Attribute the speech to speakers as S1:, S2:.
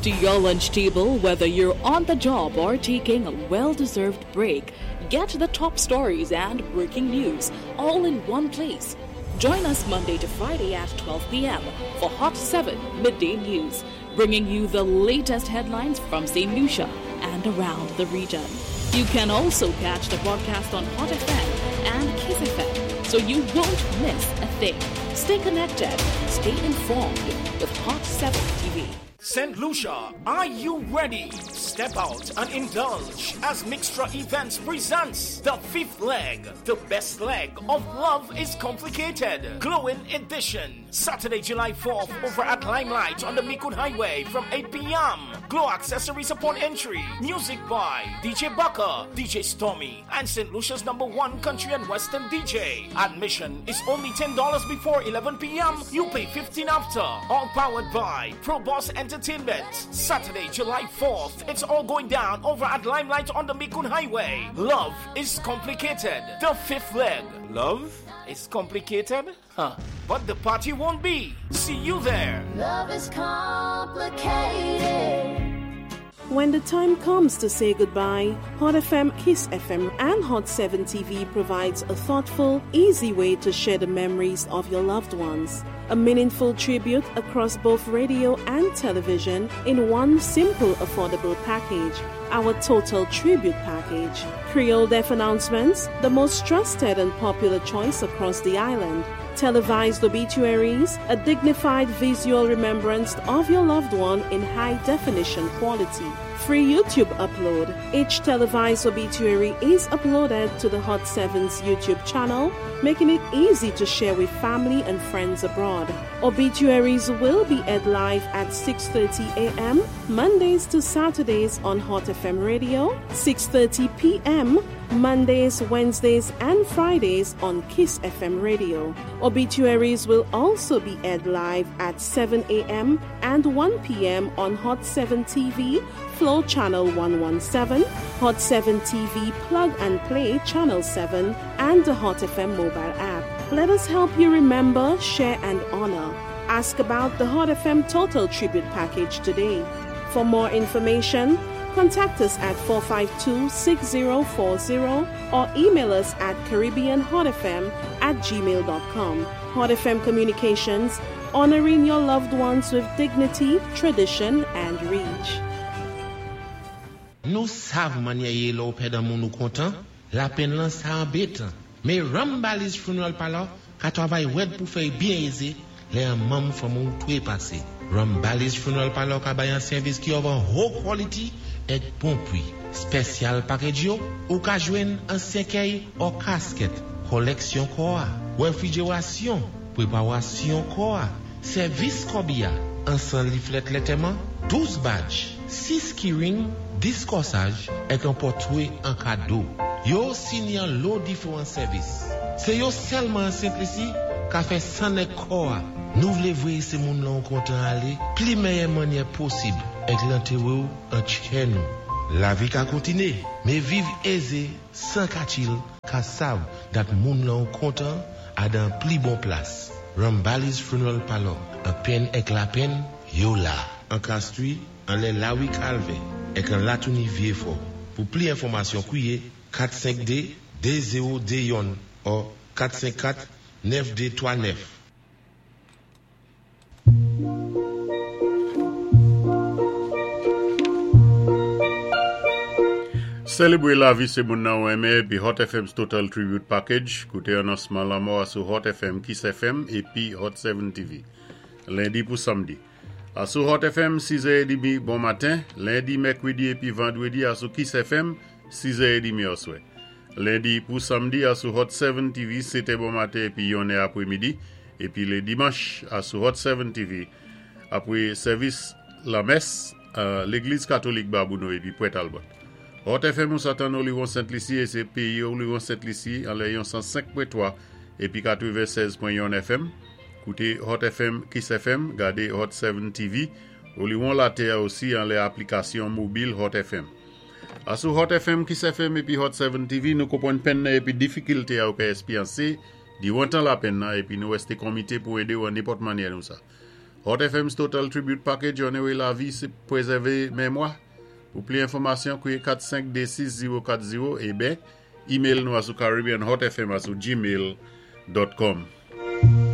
S1: to your lunch table, whether you're on the job or taking a well deserved break. Get the top stories and breaking news all in one place. Join us Monday to Friday at 12 p.m. for Hot 7 Midday News, bringing you the latest headlines from St. Lucia and around the region. You can also catch the broadcast on Hot FM and Kiss FM, so you won't miss a thing. Stay connected, stay informed with Hot 7 TV.
S2: St. Lucia, are you ready? Step out and indulge as Mixtra Events presents the fifth leg, the best leg of Love is Complicated, Glowing Edition, Saturday, July 4th, over at Limelight on the Micoud Highway from 8 p.m. Glow accessories upon entry. Music by DJ Bucker, DJ Stormy, and St. Lucia's number one country and western DJ. Admission is only $10 before 11 p.m. You pay 15 after. All powered by Pro Boss Entertainment. Saturday, July 4th. It's all going down over at Limelight on the Micoud Highway. Love is complicated. The fifth leg. Love is complicated? Huh. But the party won't be. See you there.
S3: Love is complicated.
S4: When the time comes to say goodbye, Hot FM, Kiss FM, and Hot 7 TV provides a thoughtful, easy way to share the memories of your loved ones. A meaningful tribute across both radio and television in one simple, affordable package. Our Total Tribute Package. Creole Deaf announcements, the most trusted and popular choice across the island. Televised obituaries, a dignified visual remembrance of your loved one in high definition quality. Free YouTube upload. Each televised obituary is uploaded to the Hot 7's YouTube channel, making it easy to share with family and friends abroad. Obituaries will be aired live at 6:30 a.m. Mondays to Saturdays on Hot FM Radio, 6:30 p.m. Mondays, Wednesdays, and Fridays on Kiss FM Radio. Obituaries will also be aired live at 7 a.m. and 1 p.m. on Hot 7 TV, Flow Channel 117, Hot 7 TV Plug and Play Channel 7, and the Hot FM mobile app. Let us help you remember, share, and honor. Ask about the Hot FM Total Tribute Package today. For more information, contact us at 452 6040 or email us at CaribbeanHotFM@gmail.com. Hot FM Communications, honoring your loved ones with dignity, tradition, and reach.
S5: Nou sav mannyè yé lè ou pèd an moun ou kontan, lapenn lan sa anbétan. Mé Rambali's Funeral Parlor ka twavay wèd pou fè-y byen ézé lè an manm fanmi ou twépasé. Rambali's Funeral Parlor ka bay an sèvis ki of an ho quality èk bon pwi. Special package yo, ou ka jwenn an sèkèy or casket, kòlèksyon kò-a, wèfrijerasyon, pwépawasyon kò-a, sèvis kòbi-a, an 100 leaflet lètèman, 12 badge, 6 keyring, 10 kòsaj, èk an pòtwé an kado. Yo osi ni an lo diféwan sèvis. Sé yo sèlman an Sent Lisi ka fè 100 nèg kò-a. Nou vlé vwéyé sé moun lan ou kontan alé pli mèyè mannyè posib èk lantéwé-w an tchè nou. Lavi ka kontiné, mé viv ézé 100 ka chill ka sav dat moun lan ou kontan a dan pli bon plas. Rambali's Funeral Parlor, an penn èk lapenn, yo la. An Castries, anlè Lawi Calvin, èk an Latouni Vieux-Fort. Pou pli enfòmasyon, kwiyé 452 2021 or 454 9239.
S6: Selebre lavi sé moun nan ou renmen épi Hot FM's Total Tribute Package. Kouté anonsman lanmò a sou Hot FM, Kiss FM épi Hot 7 TV. Lendi pou samdi. A sou Hot FM 6h30 bon maten, lendi, mèkwédi épi vandwédi a sou Kiss FM 6h30 oswè. Lendi pou samdi a sou Hot 7 TV 7 bon maten épi 1 è apwémidi épi lé dimanch a sou Hot 7 TV apwé sèvis lamès Légliz Katolik Babouno épi Pwent Albert. Hot FM ou sa tann Oliwon Sent Lisi é sé péyi Oliwon Sent Lisi anlè yon 105.3 épi 96.1 FM. Kouté Hot FM, Kiss FM, gadé Hot 7 TV, Oliwon Latè osi anlè aplikasyon mobil Hot FM. A sou Hot FM, Kiss FM épi Hot 7 TV nou konpwann penn nan épi difikilte a ou ka espyansé diwan tan lapenn nan épi nou èsté konmité pou édé ou an nenpòt mannyè nou sa. Hot FM's Total Tribute Package onowé lavi sé pwézèvé mémwa. Pou pli enfòmasyon, kwiyé 4526040 é ben, email nou asou caribbeanhotfm@gmail.com.